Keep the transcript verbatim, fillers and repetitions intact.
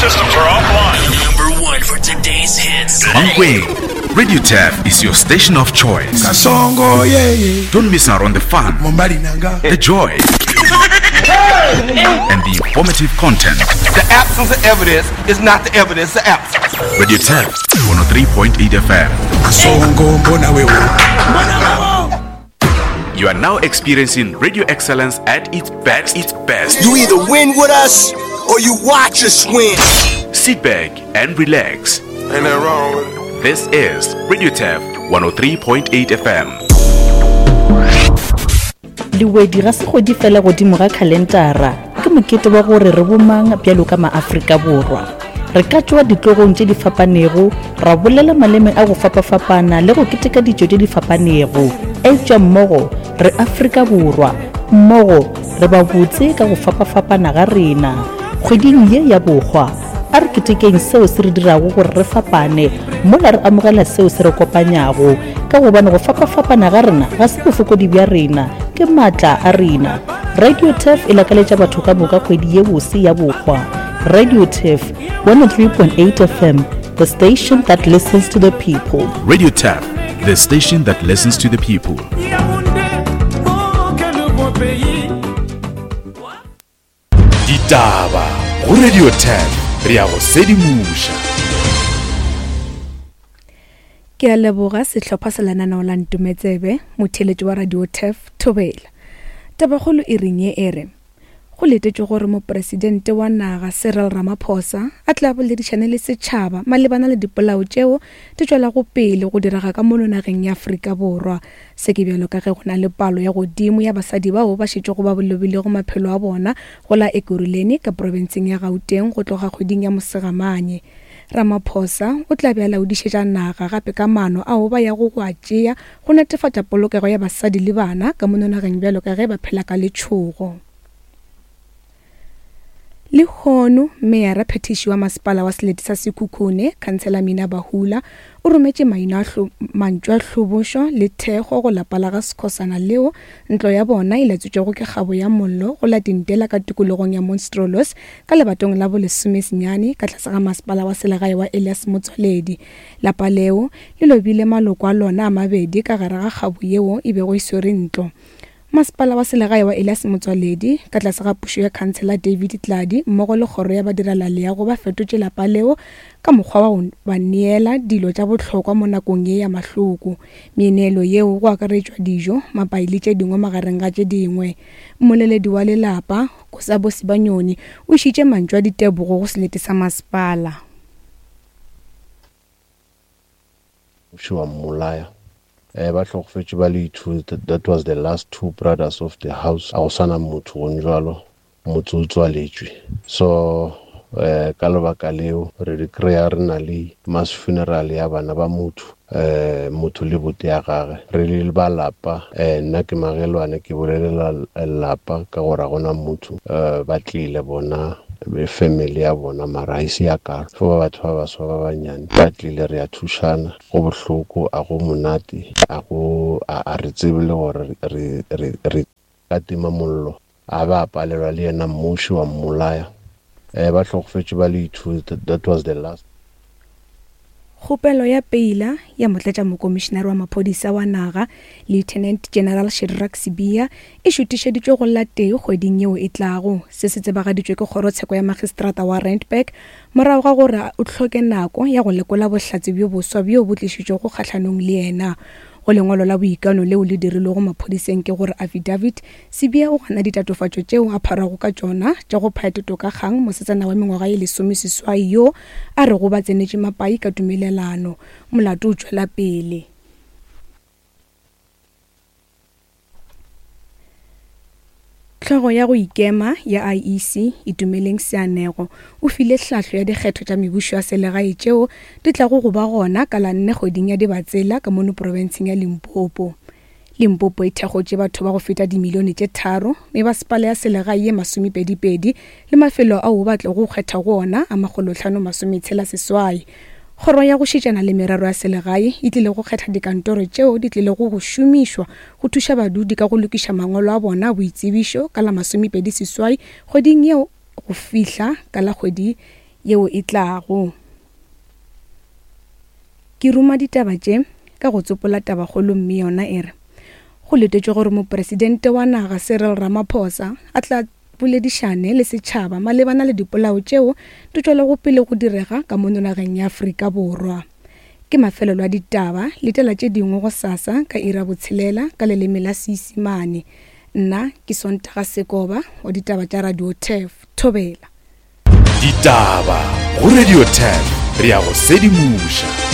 Systems are offline. Number one for today's hits. Mankweng, Radio Turf is your station of choice. Kasongo yeah, yeah. Don't miss out on the fun, Mombali nanga. the joy, and the informative content. The absence of evidence is not the evidence of absence. Radio Turf, one oh three point eight F M. Kasongo mbona wewe. You are now experiencing radio excellence at its best. Its best. You either win with us or you watch us win. Sit back and relax. Ain't nothing wrong with it. This is Radio Turf one oh three point eight F M. Lewedi ga se kgwedi fela godimo ga khalentara, ke mokete wa gore re bomang bjalo ka maAfrika Borwa. Re ka tšwa ditlogong tše di fapanego, ra bolela maleme a go fapafapana le go keteka ditšo tše di fapanego. Eupša mmogo re Afrika Borwa, mmogo re ba botse ka go fapafapana ga rena. Kgweding ye ya bohwa, a re ketekeng seo se re dirago gore re fapane, mola re amogela seo se re kopanyago, ka gobane go fapafapana ga rena ga se bofokodi bja rena, ke maatla a rena. Radio Turf e lakaletša batho ka moka kgwedi ye bose ya bohwa. Radio Turf one oh three point eight F M, the station that listens to the people. Radio Turf, the station that listens to the people. Ditaba go Radio Turf, re ya go sedimoša. Ke a leboga sehlopha sa lenaneo la Ntometsebe, motheeletši wa Radio Turf Thobela. Tabakgolo e reng ye e re go letetšwe gore mopresidente wa naga Cyril Ramaphosa a tla boledišane le setšhaba malebana le dipolao tšeo di tšwelago pele go direga ka mono nageng ya Afrika Borwa. Se ke bjalo ka ge go na le palo ya godimo ya basadi bao ba šetšego ba lobilego maphelo a bona go la Ekurhuleni ka profenseng ya Gauteng go tloga kgweding ya Mosegamanye. Ramaphosa o tla be a laodišetša naga gape ka maano ao ba yago go a tšea go netefatša polokego ya basadi le bana ka mono nageng bjalo ka ge ba phela ka letšhogo. Lehono meyara phetiši wa masepala wa selete sa Sekhukhune, Khansela Mina Bahula, o rometše maina a hlo, mantšu a hlobošo le thekgo go lapa la ga Skhosana leo ntlo ya bona e latswitšwego ke kgabo ya mollo go la Tintela ka tikologong ya Monstrelos ka lebatong la bolesomesenyane ka tlase ga masepala wa selegae wa Elias Motsoaledi. Lapa leo le lobile maloko a lona a mabedi ka gare ga kgabo yeo e bego e swere ntlo. Masepala wa selegae wa Elias Motsoaledi ka tlase ga pušo ya Khansela David Tladi mmogo le kgoro ya badirelaleago ba fetotše lapa leo ka mokgwa wa go ba neela dilo tša bohlokwa mo nakong ye ya mahloko. Meneelo yeo go akaretšwa dijo, mapai le tše dingwe magareng ga tše dingwe. Mmoleledi wa lelapa Kosabo Sibanyoni o išitše mantšu a ditebogo go selete sa masepala. Wa mmolaya. Eh, ba hlokofetše ba le two, that was the last two brothers of the house. A go sana motho go njalo, motse o tswaletšwe. So eh ka lebaka leo re di kry-a re na le mass funeral ya bana ba motho, eh motho le bote ya gagwe. Re le ba lapa, eh nna ke magelwane ke bolelela lapa ka gore ga gona motho, eh ba tlile bona be family ya bona mara ha ise ya kalo. Fo ba batho ba baswa ba banyane ba tlile re a thušana, go bohloko a go monate, a go a re tsebe le gore re re re ka tima mollo a ba palelwa le yena mmuši wa mmolaya. Eh ba hlokofetše ba le two, that was the last. Kgopelo ya peila ya motlatša mokomišenare wa maphodisa wa naga Lieutenant General Shadrack Sibiya e šutišeditšwe go la tee kgweding yeo e tlago. Se se tsebagaditšwe ke kgorotsheko ya magistrata wa Randburg morago ga gore o hloke nako ya go lekola bohlatse bjo boswa bjo bo tlišitšwego kgahlanong le yena. Go lengwalo la boikano leo le dirilwego maphodiseng ke gore affidavit, Sibiya o gana ditatofatšo tšeo a pharago ka tšona tša go phaya toka kgang mosetsana wa mengwaga ye lesomeseswai yo a rego ba tsenetše mapai ka tumelelano. Molato o tšwela pele. Hlogo ya go ikema ya I E C Itumeleng Seanego o file hlahlo ya dikgetho tša mebušo ya selegae tšeo di tlago go ba gona ka la nne kgweding ya Dibatsela ka mono profenseng ya Limpopo. Limpopo e thekgotše batho ba go feta dimilione tše tharo, mebasepala ya selegae ye masomepedipedi le mafelo ao ba tlogo go kgetha go ona a makgolotlhano masometshela seswai. Kgoro ya go šetšana le merero ya selegae e tlile go kgetha dikantoro tšeo di tlilego go šomišwa go thuša badudi ka go lokiša mangwalo a bona a boitsebišo ka la masomepedi seswai kgweding yeo go fihla ka la kgwedi yeo e tlago. Ke ruma ditaba tše ka go tsopola tabakgolo mme yona e re go letetšwe gore mopresidente wa naga Cyril Ramaphosa a tla boledišane le setšhaba malebana le dipolao tšeo di tšwelago pele go direga ka mono nageng ya Afrika Borwa. Ke mafelelo a ditaba, letela tše dingwe gosasa ka iri ya botshelela ka leleme la Seisemane. Nna ke Sontaga Sekoba wa ditaba tša Radio Turf. Thobela. Ditaba go Radio Turf, re ya go sedimoša.